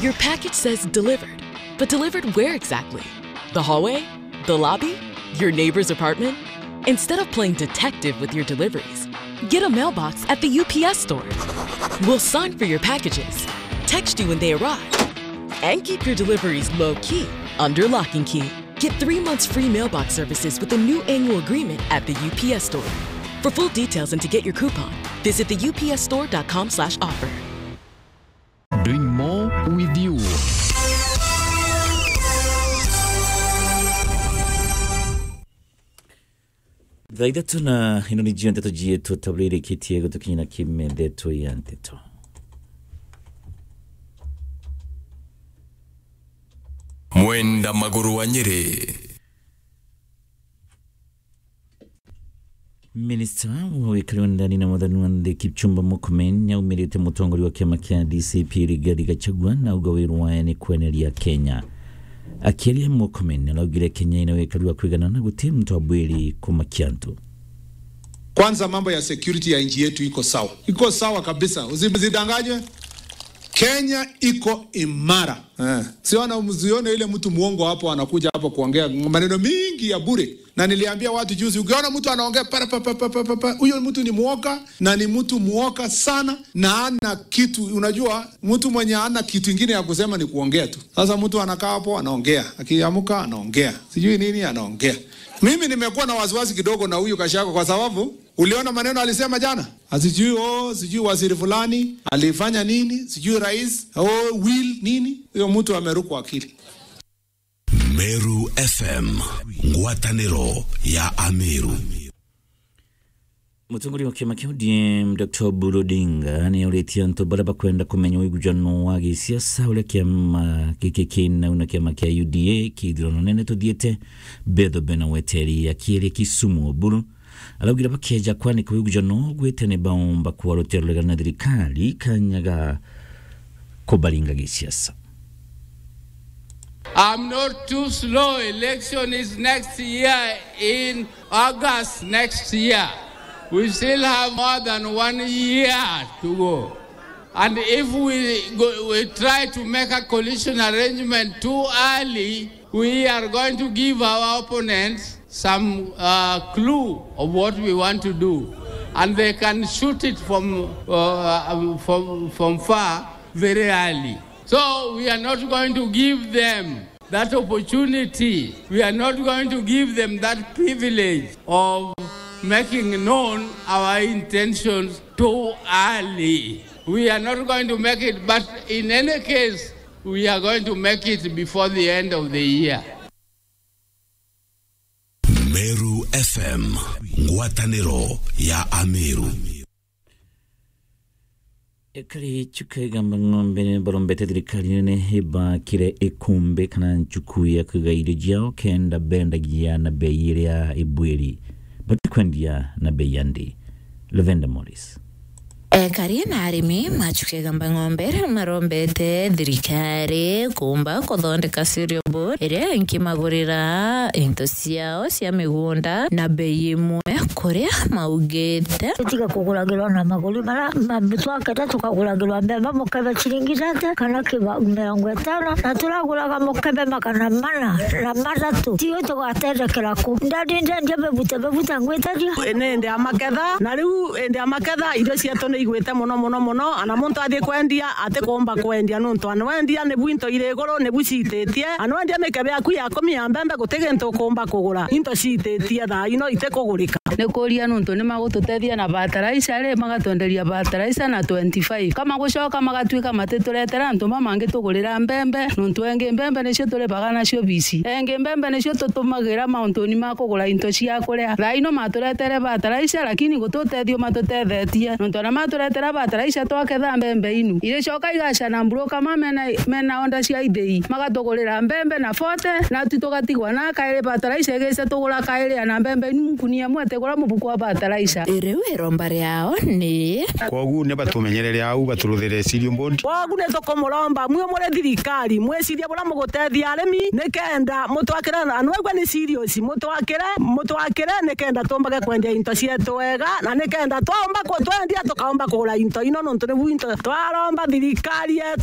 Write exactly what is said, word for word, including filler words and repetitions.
Your package says delivered, but delivered where exactly? The hallway? The lobby? Your neighbor's apartment? Instead of playing detective with your deliveries, get a mailbox at the U P S store. We'll sign for your packages, text you when they arrive, and keep your deliveries low key under lock and key. Get three months free mailbox services with a new annual agreement at the U P S store. For full details and to get your coupon, visit the U P S store dot com slash offer. Doing more with you. Thaa ithatu na ino ni jio ndeto jietu tabla irikitie gutukinyira kimethetwe ya nteto. Mwenda maguru wa Nyeri. Minista wa wikari wa ndani na wathani wa nthi Kipchumba Murkomen niaumirite mutongoria wa kiama kia D C P Rigathi Gachagua na auga wiru wae ni kweneria Kenya. Akiaria, Murkomen araugire Kenya ina wikari wa kwigana na guti muntu abwiri kumakia antu. Kwanza, mambo ya security ya nchi yetu iko sawa, iko sawa kabisa, usidanganywe. Kenya iko imara. Eh. Siona, msione ile mtu muongo hapo anakuja hapo kuongea maneno mingi ya bure. Na niliambia watu juzi, ukiona mtu anaongea para pa pa pa pa pa, huyo mtu ni muoga, na ni mtu muoga sana, na ana kitu. Unajua, mtu mwenye ana kitu ingine ya kusema ni kuongea tu. Sasa mtu anakaa hapo anaongea, akiamka anaongea, sijui nini anaongea. Mimi nimekuwa na wasiwasi kidogo na huyu Gachagua kwa sababu uliona maneno alisema jana? Ati sijui, oh, sijui waziri fulani alifanya nini, sijui rais, oh, will nini? Huyo mtu amerukwa akili. Meru F M, ngwataniro ya Ameru. Mutongoria wa kiama kia O D M, Doctor Oburu Odinga, niauritie antu baria bakwenda kumenya wigujano wa gisiasa uria kiama giki kinau na kiama kia U D A ki ithurano nene tuthiite, betho bena weteri. Akiaria Kisumu, Oburu araugire bakeja kwanika wigujano gwite ni baumba kuwa rutere ruregana na thirikari kanya ga kubaringa gisiasa. I'm not too slow. Election is next year in August next year. We still have more than one year to go. And if we go, we try to make a coalition arrangement too early, we are going to give our opponents some, uh, clue of what we want to do. And they can shoot it from, uh, from, from far very early. So we are not going to give them that opportunity. We are not going to give them that privilege of making known our intentions too early. We are not going to make it, but in any case, we are going to make it before the end of the year. Meru F M, ngwataniro ya Ameru. Ekari Chuka Igamba Ng'ombe barombete thirikari nene ibakire ikumbi kana nchuku ya kwiga irio ciao kenda bendagia na bei iria ibwiri, batikwendia na bei ya nthi. Lavender Morris. Ekari na arimi ma Chuka Igamba Ng'ombe riu marombete thirikari kumba kuthondeka cereal board iria inkimagurira into ciao cia migunda na bei imwe kuria maugite. Tutige kuguragirwa na maguri mara ma-, twakenda tukaguragirwa mbembe mukebe ciringi thate kana kiba mirongo itano, na turaguraga mukebe magana mana na mathatu. Tiwe tugatethekera ku? Ndadi ndendia bebute bebute ngwitaria. Ni indi ya maketha, na riu indi ya maketha irio cietu ni igwite muno muno muno, ana muntu athii kwendia atikumba kwendia nuntu ana wendia nibu into iri iguru nibu ciititie, ana wendia mikebe yaku ya kumi ya mbembe guti gintu ukumba kugura, into ciititie thaa ino itikugurika. Ni kuria nuntu ni magututethia na fertilizer ri, magatwenderia fertilizer na twenty-five. Kama gucoka magatuika matituretera antu mamangi tugurira mbembe, nuntu engi mbembe nicio turibaga nacio bisi. Engi mbembe nicio tutumagira mauntuni ma kugura into cia kuria. Thaa ino maturetere fertilizer, lakini guti utethio matutethetie. Nuntu ana maturetera fertilizer twaketha mbembe inu, iricoka igacana mburu kama mena, mena onda cia ithei. Magatugurira mbembe na forty, na tu tugatigwa na kairi fertilizer igice tugura kairi, ana mbembe inu nkunia imwe itigura mubuku wa fertilizer. Riu iromba riao ni. Kwogu ni batumenyerere au, baturuthire cereal board. Kwogu ni tukumuromba mwi muri thirikari, mwicirie buria mugutethia arimi, nikenda mutwakire, na nwegwe ni serious, mutwakire, mutwakire nikenda tumbage kwendia into cietu wega, na nikenda twaumba ku-, twendia tukaumba kugura into ino, nontu nibu into twaromba thirikari yetu.